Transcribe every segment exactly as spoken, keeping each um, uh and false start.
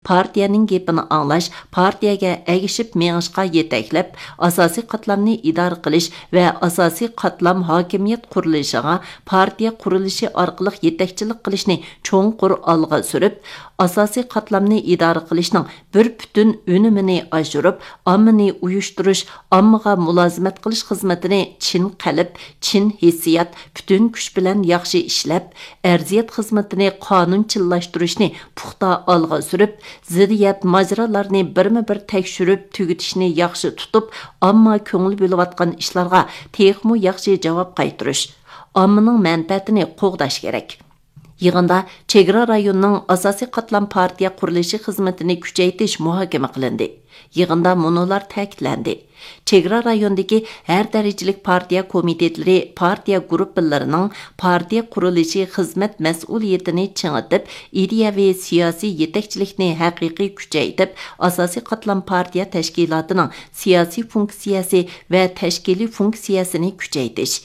پارتىيەنىڭ گېپىنى ئاڭلاش، پارتىيەگە ئەگىشىپ مېڭىشقا يېتەكلەپ، ئاساسىي قاتلامنى ئىدارە قىلىش ۋە ئاساسىي قاتلام ھاكىمىيەت قۇرۇلۇشىغا، پارتىيە قۇرۇلۇشى ئارقىلىق يېتەكچىلىك قىلىشنى چوڭقۇر ئالغا سۈرۈپ، ئاساسىي قاتلامنى ئىدارە قىلىشنىڭ بىر پۈتۈن ئۈنۈمىنى ئاشۇرۇپ، ئاممىنى ئۇيۇشتۇرۇش، ئاممىغا مۇلازىمەت قىلىش خىزمىتىنى چىن قەلب، چىن ھېسسىيات، پۈتۈن كۈچ بىلەن ياخشى ئىشلەپ، ئەرزىيەت خىزمىتىنى قانۇنچىللاشتۇرۇشنى پۇختا ئالغا سۈرۈپ، زىددىيەت ماجىرالارنى بىرمۇ بىر تەكشۈرۈپ تۈگىتىشنى ياخشى تۇتۇپ، ئامما كۆڭۈل بۆلۈۋاتقان ئىشلارغا تېخىمۇ ياخشى جاۋاب قايتۇرۇش، ئاممىنىڭ مەنپەئەتىنى قوغداش كېرەك. يىغىندا چېگرا رايونىنىڭ ئاساسىي قاتلام پارتىيە قۇرۇلۇشى خىزمىتىنى كۈچەيتىش مۇھاكىمە قىلىندى. يىغىندا مۇنۇلار تەكىتلەندى: چېگرا رايونىدىكى ھەر دەرىجىلىك پارتىيە كومىتېتلىرى، پارتىيە گۇرۇپپىلىرىنىڭ پارتىيە قۇرۇلۇشى خىزمەت مەسئۇلىيىتىنى چىڭىتىپ، ئىدىيەۋى سىياسىي يېتەكچىلىكنى ھەقىقىي كۈچەيتىپ، ئاساسىي قاتلام پارتىيە تەشكىلاتىنىڭ سىياسىي فۇنكسىيەسى ۋە تەشكىلىي فۇنكسىيەسىنى كۈچەيتىش،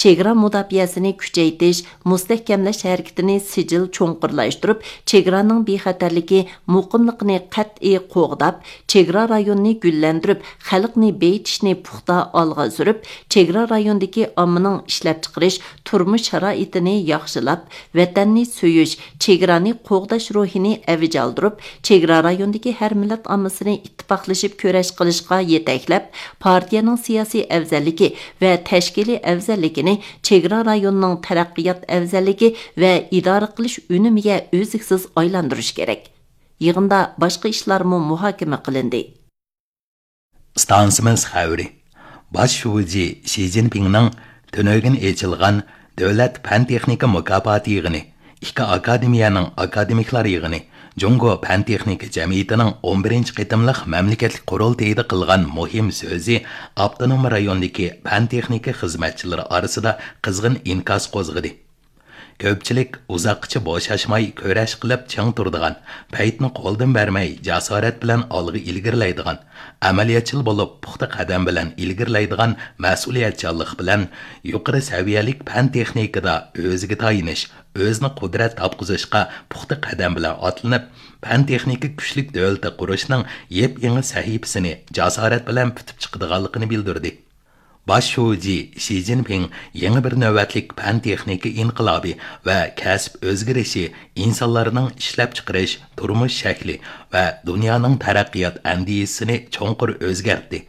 چېگرا مۇداپىئەسىنى كۈچەيتىش، مۇستەھكەملەش ھەرىكىتىنى سىجىل چوڭقۇرلاشتۇرۇپ، چېگرانىڭ بىخەتەرلىكى، مۇقىملىقىنى قەتئىي قوغداپ، چېگرا رايونىنى گۈللەندۈرۈپ، خەلقنى بېيىتىشنى پۇختا ئالغا سۈرۈپ، چېگرا رايونىدىكى ئاممىنىڭ ئىشلەپچىقىرىش، تۇرمۇش شارائىتىنى ياخشىلاپ، ۋەتەننى سۆيۈش، چېگرانى قوغداش روھىنى ئەۋج ئالدۇرۇپ، چېگرا رايونىدىكى ھەر مىللەت ئاممىسىنى ئىتتىپاقلىشىپ كۈرەش قىلىشقا يېتەكلەپ، پارتىيەنىڭ سىياسىي ئەۋزەللىكى ۋە تەشكىلىي ئەۋزەللىكىنى، چېگرا رايونىنىڭ تەرەققىيات ئەۋزەللىكى ۋە ئىدارە قىلىش ئۈنۈمىگە ئۈزلۈكسىز ئايلاندۇرۇش كېرەك. يىغىندا باشقا ئىشلارمۇ مۇھاكىمە قىلىندى. ئىستانسىمىز خەۋىرى. باش شۇجى شى جىنپىڭنىڭ تۈنۈگۈن ئېچىلغان دۆلەت پەن تېخنىكا مۇكاپاتى يىغىنى، ئىككى ئاكادېمىيەنىڭ ئاكادېمىكلار يىغىنى، جۇڭگو پەن تېخنىكا جەمئىيىتىنىڭ ئون بىرىنچى قېتىملىق مەملىكەتلىك قۇرۇلتىيىدا قىلغان مۇھىم سۆزى ئاپتونوم رايوندىكى پەن تېخنىكا خىزمەتچىلىرى ئارىسىدا قىزغىن ئىنكاس قوزغىدى. كۆپچىلىك ئۇزاققىچە بوشاشماي كۈرەش قىلىپ چىڭ تۇرىدىغان، پەيتنى قولدىن بەرمەي جاسارەت بىلەن ئالغا ئىلگىرىلەيدىغان، ئەمەلىيەتچىل بولۇپ پۇختا قەدەم بىلەن ئىلگىرىلەيدىغان مەسئۇلىيەتچانلىق بىلەن يۇقىرى سەۋىيەلىك پەن تېخنىكىدا ئۆزىگە تايىنىش، ئۆزىنى قۇدرەت تاپقۇزۇشقا پۇختا قەدەم بىلەن ئاتلىنىپ، پەن تېخنىكا كۈچلۈك دۆلىتى قۇرۇشنىڭ يېپيېڭى سەھىپىسىنى جاسارەت بىلەن پۈتۈپ چىقىدىغانلىقىنى بىلدۈردى. باش شۇجى شى جىنپىڭ يېڭى بىر نۆۋەتلىك پەن تېخنىكا ئىنقىلابى ۋە كەسىپ ئۆزگىرىشى ئىنسانلارنىڭ ئىشلەپچىقىرىش، تۇرمۇش شەكلى ۋە دۇنيانىڭ تەرەققىيات ئەندىزىسىنى چوڭقۇر ئۆزگەرتتى.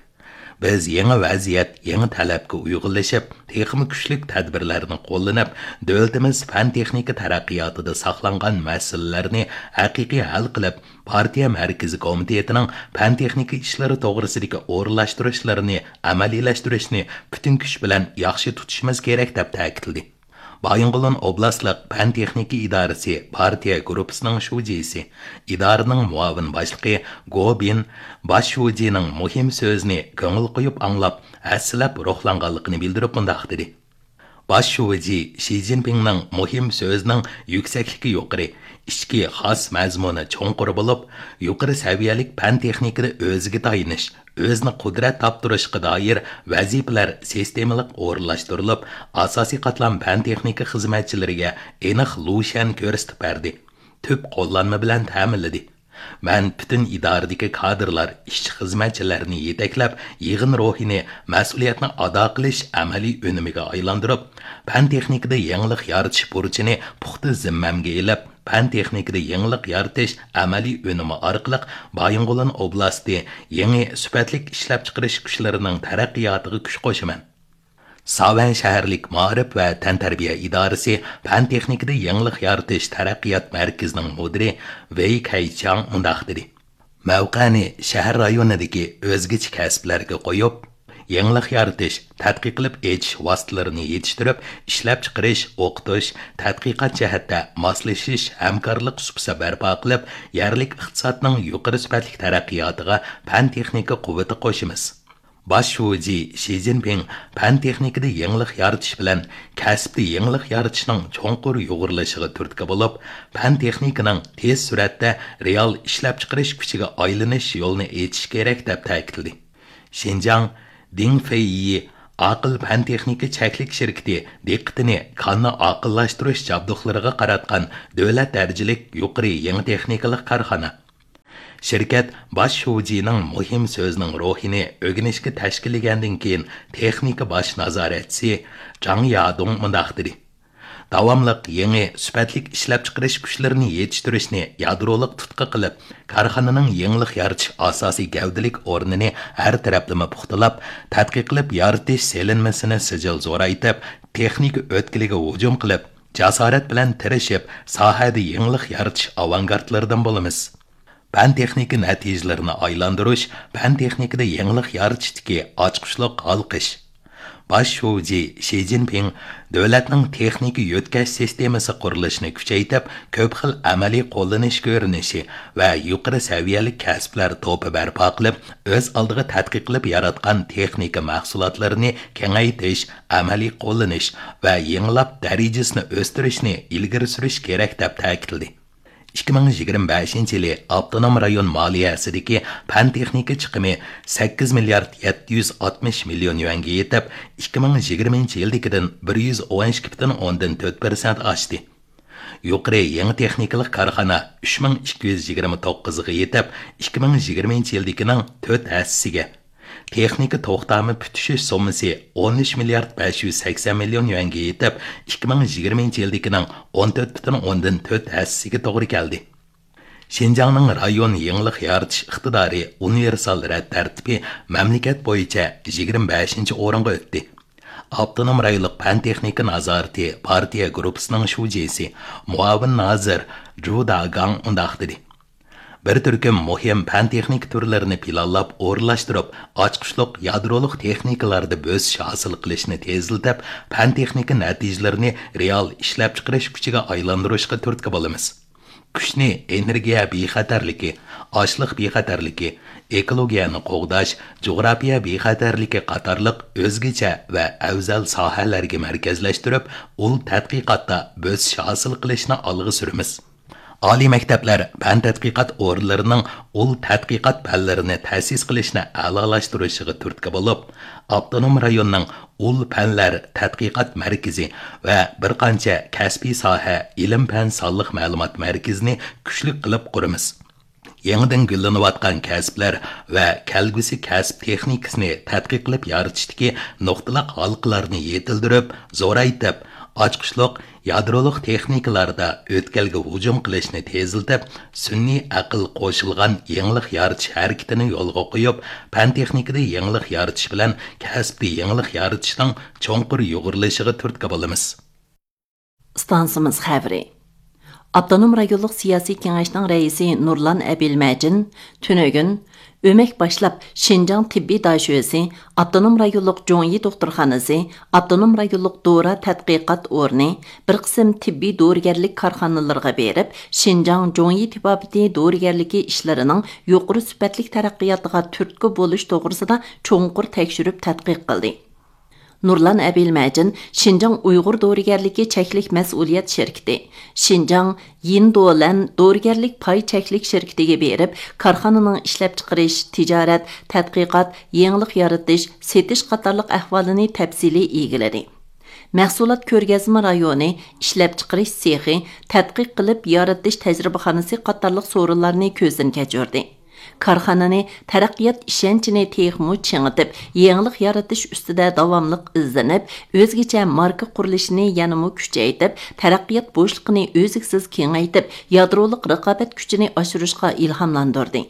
بىز يېڭى ۋەزىيەت، يېڭى تەلەپكە ئۇيغۇنلىشىپ، تېخىمۇ كۈچلۈك تەدبىرلەرنى قوللىنىپ، دۆلىتىمىز پەن تېخنىكا تەرەققىياتىدا ساقلانغان مەسىلىلەرنى ھەقىقىي ھەل قىلىپ، پارتىيە مەركىزىي كومىتېتىنىڭ پەن تېخنىكا ئىشلىرى توغرىسىدىكى ئورۇنلاشتۇرۇشلىرىنى ئەمەلىيلەشتۈرۈشنى پۈتۈن كۈچ بىلەن ياخشى تۇتۇشىمىز كېرەك، دەپ تەكىتلىدى. بايىنغولىن ئوبلاستلىق پەن تېخنىكا ئىدارىسى پارتىيە گۇرۇپپىسىنىڭ شۇجىسى، ئىدارىنىڭ مۇئاۋىن باشلىقى گو بىن باش شۇجىنىڭ مۇھىم سۆزىنى كۆڭۈل قويۇپ ئاڭلاپ، ھەسسىلەپ روھلانغانلىقىنى بىلدۈرۈپ مۇنداق دېدى: باش شۇجى شى جىنپىڭنىڭ مۇھىم سۆزىنىڭ يۈكسەكلىكى يۇقىرى، ئىچكى خاس مەزمۇنى چوڭقۇر بولۇپ، يۇقىرى سەۋىيەلىك پەن تېخنىكىدا ئۆزىگە تايىنىش، ئۆزىنى قۇدرەت تاپتۇرۇشقا دائىر ۋەزىپىلەر سىستېمىلىق ئورۇنلاشتۇرۇلۇپ، ئاساسىي قاتلام پەن تېخنىكا خىزمەتچىلىرىگە ئېنىق لۇشيەن كۆرسىتىپ بەردى، تۈپ قوللانما بىلەن تەمىنلىدى. مەن پۈتۈن ئىدارىدىكى كادىرلار، ئىشچى-خىزمەتچىلەرنى يېتەكلەپ، يىغىن روھىنى مەسئۇلىيەتنى ئادا قىلىش ئەمەلىي ئۈنۈمىگە ئايلاندۇرۇپ، پەن تېخنىكىدا يېڭىلىق يارىتىش بۇرچىنى پۇختا زىممەمگە ئېلىپ، پەن تېخنىكىدا يېڭىلىق يارىتىش ئەمەلىي ئۈنۈمى ئارقىلىق بايىنغولىن ئوبلاستى يېڭى سۈپەتلىك ئىشلەپچىقىرىش كۈچلىرىنىڭ تەرەققىياتىغا كۈچ قوشىمەن. ساۋەن شەھەرلىك مائارىپ ۋە تەنتەربىيە ئىدارىسى پەن تېخنىكىدا يېڭىلىق يارىتىش تەرەققىيات مەركىزىنىڭ مۇدىرى ۋېي كەيچياڭ مۇنداق دېدى: مەۋقەنى شەھەر رايونىدىكى ئۆزگىچە كەسىپلەرگە قويۇپ، يېڭىلىق يارىتىش، تەتقىق قىلىپ ئېچىش ۋاسىتىلىرىنى يېتىشتۈرۈپ، ئىشلەپچىقىرىش، ئوقۇتۇش، تەتقىقات جەھەتتە ماسلىشىش، ھەمكارلىق سۇپىسى بەرپا قىلىپ، يەرلىك ئىقتىسادنىڭ يۇقىرى سۈپەتلىك تەرەققىياتىغا پەن تېخنىكا قۇۋۋىتى قوشىمىز. باش شۇجى شى جىنپىڭ پەن تېخنىكىدا يېڭىلىق يارىتىش بىلەن كەسىپتە يېڭىلىق يارىتىشنىڭ چوڭقۇر يۇغۇرۇلۇشىغا تۈرتكە بولۇپ، پەن تېخنىكىنىڭ تېز سۈرئەتتە رېئال ئىشلەپچىقىرىش كۈچىگە ئايلىنىش يولىنى ئېچىش كېرەك، دەپ تەكىتلىدى. شىنجاڭ دىڭفېييى ئاقىل پەن تېخنىكا چەكلىك شىركىتى دىققىتىنى كاننى ئاقىللاشتۇرۇش جابدۇقلىرىغا قاراتقان دۆلەت دەرىجىلىك يۇقىرى يېڭى تېخنىكىلىق كارخانا، شىركەت باش شۇجىنىڭ مۇھىم سۆزىنىڭ روھىنى ئۆگىنىشكە تەشكىللىگەندىن كېيىن، تېخنىكا باش نازارەتچىسى جاڭ يادۇڭ مۇنداق دېدى: داۋاملىق يېڭى سۈپەتلىك ئىشلەپچىقىرىش كۈچلىرىنى يېتىشتۈرۈشنى يادرولۇق تۇتقا قىلىپ، كارخانىنىڭ يېڭىلىق يارىتىش ئاساسىي گەۋدىلىك ئورنىنى ھەر تەرەپلىمە پۇختىلاپ، تەتقىق قىلىپ يارىتىش سېلىنمىسىنى سىجىل زورايتىپ، تېخنىكا ئۆتكىلىگە ھۇجۇم قىلىپ، جاسارەت بىلەن تىرىشىپ، ساھەدە يېڭىلىق يارىتىش ئاۋانگارتلىرىدىن بولىمىز. پەن-تېخنىكا نەتىجىلىرىنى ئايلاندۇرۇش، پەن-تېخنىكىدا يېڭىلىق يارىتىشتىكى ئاچقۇچلۇق ھالقىش. باش شۇجى شى جىنپىڭ دۆلەتنىڭ تېخنىكا يۆتكەش سىستېمىسى قۇرۇلۇشىنى كۈچەيتىپ، كۆپ خىل ئەمەلىي قوللىنىش كۆرۈنۈشى ۋە يۇقىرى سەۋىيەلىك كەسىپلەر توپى بەرپا قىلىپ، ئۆز ئالدىغا تەتقىق قىلىپ ياراتقان تېخنىكا مەھسۇلاتلىرىنى كېڭەيتىش، ئەمەلىي قوللىنىش ۋە يېڭىلاپ دەرىجىسىنى ئۆستۈرۈشنى ئىلگىرى سۈرۈش كېرەك، دەپ تەكىتلىدى. ئىككى مىڭ يىگىرمە بەشىنچى يىلى ئاپتونوم رايون مالىيەسىدىكى پەن-تېخنىكا چىقىمى سەككىز مىليارد يەتتە يۈز ئاتمىش مىليون يۈەنگە يېتىپ، ئىككى مىڭ يىگىرمىنچى يىلدىكىدىن بىر يۈز ئون ئىككى پۈتۈن ئوندىن تۆت پىرسەنت ئاشتى. يۇقىرى يېڭى تېخنىكىلىق كارخانا ئۈچ مىڭ ئىككى يۈز يىگىرمە توققۇزغا يېتىپ، ئىككى مىڭ يىگىرمىنچى يىلدىكىنىڭ تۆت ھەسسىسىگە، تېخنىكا توختامى پۈتۈشۈش سوممىسى ئون ئۈچ مىليارد بەش يۈز سەكسەن مىليون يۈەنگە يېتىپ، ئىككى مىڭ يىگىرمىنچى يىلدىكىنىڭ ئون تۆت پۈتۈن ئوندىن تۆت ھەسسىسىگە توغرا كەلدى. شىنجاڭنىڭ رايون يېڭىلىق يارىتىش ئىقتىدارى ئۇنىۋېرسال رەت تەرتىپى مەملىكەت بويىچە يىگىرمە بەشىنچى ئورۇنغا ئۆتتى. ئاپتونوم رايونلۇق پەن-تېخنىكا نازارىتى پارتىيە گۇرۇپپىسىنىڭ شۇجىسى، مۇئاۋىن نازىر جۇ داگاڭ مۇنداق دېدى: بىر تۈركۈم مۇھىم پەن-تېخنىكا تۈرلىرىنى پىلانلاپ ئورۇنلاشتۇرۇپ، ئاچقۇچلۇق يادرولۇق تېخنىكىلاردا بۆسۈش ھاسىل قىلىشنى تېزلىتىپ، پەن-تېخنىكا نەتىجىلىرىنى رېئال ئىشلەپچىقىرىش كۈچىگە ئايلاندۇرۇشقا تۈرتكە بولىمىز. كۈچنى ئېنېرگىيە بىخەتەرلىكى، ئاشلىق بىخەتەرلىكى، ئېكولوگىيەنى قوغداش، جۇغراپىيە بىخەتەرلىكى قاتارلىق ئۆزگىچە ۋە ئەۋزەل ساھەلەرگە مەركەزلەشتۈرۈپ، ئۇل تەتقىقاتتا بۆسۈش ھاسىل قىلىشنى ئالغا سۈرىمىز. ئالىي مەكتەپلەر پەن تەتقىقات ئورۇنلىرىنىڭ ئۇل تەتقىقات پەنلىرىنى تەسىس قىلىشنى ئەلالاشتۇرۇشىغا تۈرتكە بولۇپ، ئاپتونوم رايوننىڭ ئۇل پەنلەر تەتقىقات مەركىزى ۋە بىر قانچە كەسپىي ساھە ئىلىم-پەن سانلىق مەلۇمات مەركىزىنى كۈچلۈك قىلىپ قۇرىمىز. يېڭىدىن گۈللىنىۋاتقان كەسىپلەر ۋە كەلگۈسى كەسىپ تېخنىكىسىنى تەتقىق قىلىپ يارىتىشتىكى نۇقتىلىق ھالقىلارنى يېتىلدۈرۈپ، زورايتىپ، ئاچقۇچلۇق يادرولۇق تېخنىكىلاردا ئۆتكەلگە ھۇجۇم قىلىشنى تېزلىتىپ، سۈنئىي ئەقىل قوشۇلغان يېڭىلىق يارىتىش ھەرىكىتىنى يولغا قويۇپ، پەن-تېخنىكىدا يېڭىلىق يارىتىش بىلەن كەسىپتە يېڭىلىق يارىتىشنىڭ چوڭقۇر يۇغۇرۇلۇشىغا تۈرتكە بولىمىز. ئىستانسىمىز خەۋىرى. ئاپتونوم رايونلۇق سىياسىي كېڭەشنىڭ رەئىسى نۇرلان ئەبىلمەجىن تۈنۈگۈن ئۆمەك باشلاپ شىنجاڭ تېببىي داشۆسى، ئاپتونوم رايونلۇق جۇڭيى دوختۇرخانىسى، ئاپتونوم رايونلۇق دورا تەتقىقات ئورنى، بىر قىسىم تېببىي دورىگەرلىك كارخانىلىرىغا بېرىپ، شىنجاڭ جۇڭيى تېبابىتى دورىگەرلىكى ئىشلىرىنىڭ يۇقىرى سۈپەتلىك تەرەققىياتىغا تۈرتكە بولۇش توغرىسىدا چوڭقۇر تەكشۈرۈپ تەتقىق قىلدى. نۇرلان ئەبىلمەجىن شىنجاڭ ئۇيغۇر دورىگەرلىكى چەكلىك مەسئۇلىيەت شىركىتى، شىنجاڭ يىندولەن دورىگەرلىك پاي چەكلىك شىركىتىگە بېرىپ، كارخانىنىڭ ئىشلەپچىقىرىش، تىجارەت، تەتقىقات، يېڭىلىق يارىتىش، سېتىش قاتارلىق ئەھۋالىنى تەپسىلىي ئىگىلىدى. مەھسۇلات كۆرگەزمە رايونى، ئىشلەپچىقىرىش سېخى، تەتقىق قىلىپ يارىتىش تەجرىبىخانىسى قاتارلىق سورۇنلارنى كۆزدىن كەچۈردى. كارخانىنى تەرەققىيات ئىشەنچىنى تېخىمۇ چىڭىتىپ، يېڭىلىق يارىتىش ئۈستىدە داۋاملىق ئىزدىنىپ، ئۆزگىچە ماركا قۇرۇلۇشىنى يەنىمۇ كۈچەيتىپ، تەرەققىيات بوشلۇقىنى ئۈزلۈكسىز كېڭەيتىپ، يادرولۇق رىقابەت كۈچىنى ئاشۇرۇشقا ئىلھاملاندۇردى.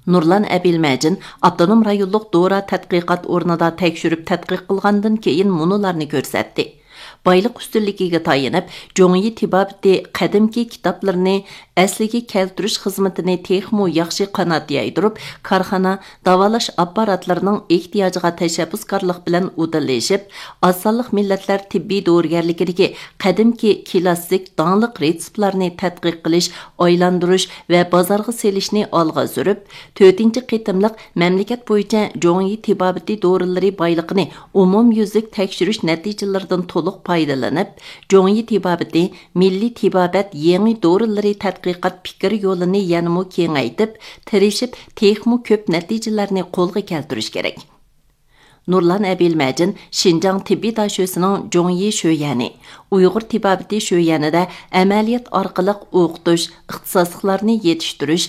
نۇرلان ئەبىلمەجىن ئاپتونوم رايونلۇق دورا تەتقىقات ئورنىدا تەكشۈرۈپ تەتقىق قىلغاندىن كېيىن مۇنۇلارنى كۆرسەتتى. بايلىق ئۈستۈنلۈكىگە تايىنىپ، جۇڭيى تېبابىتى قەدىمكى كىتابلىرىنى ئەسلىگە كەلتۈرۈش خىزمىتىنى تېخىمۇ ياخشى قانات يايدۇرۇپ، كارخانا داۋالاش ئاپپاراتلىرىنىڭ ئېھتىياجىغا تەشەببۇسكارلىق بىلەن ئۇدۇللىشىپ، ئاز سانلىق مىللەتلەر تېببىي دورىگەرلىكىدىكى قەدىمكى كىلاسسىك داڭلىق رېتسېپلارنى تەتقىق قىلىش، ئايلاندۇرۇش ۋە بازارغا سېلىشنى ئالغا سۈرۈپ، تۆتىنچى قېتىملىق مەملىكەت بويىچە جۇڭيى تېبابىتى دورىلىرى بايلىقىنى ئومۇميۈزلۈك تەكشۈرۈش نەتىجىلىرىدىن تولۇق پايدىلىنىپ، جۇڭيى تېبابىتى مىللىي تېبابەت يېڭى دورىلىرى تەتقىقات پىكىر يولىنى يەنىمۇ كېڭەيتىپ، تىرىشىپ، تېخىمۇ كۆپ نەتىجىلەرنى قولغا كەلتۈرۈش كېرەك. نۇرلان ئەبىلمەجىن شىنجاڭ تېببىي داشۆسىنىڭ جۇڭيى شۆيەنى، ئۇيغۇر تېبابىتى شۆيەنىدە ئەمەلىيەت ئارقىلىق ئوقۇتۇش، ئىختىساسلىقلارنى يېتىشتۈرۈش،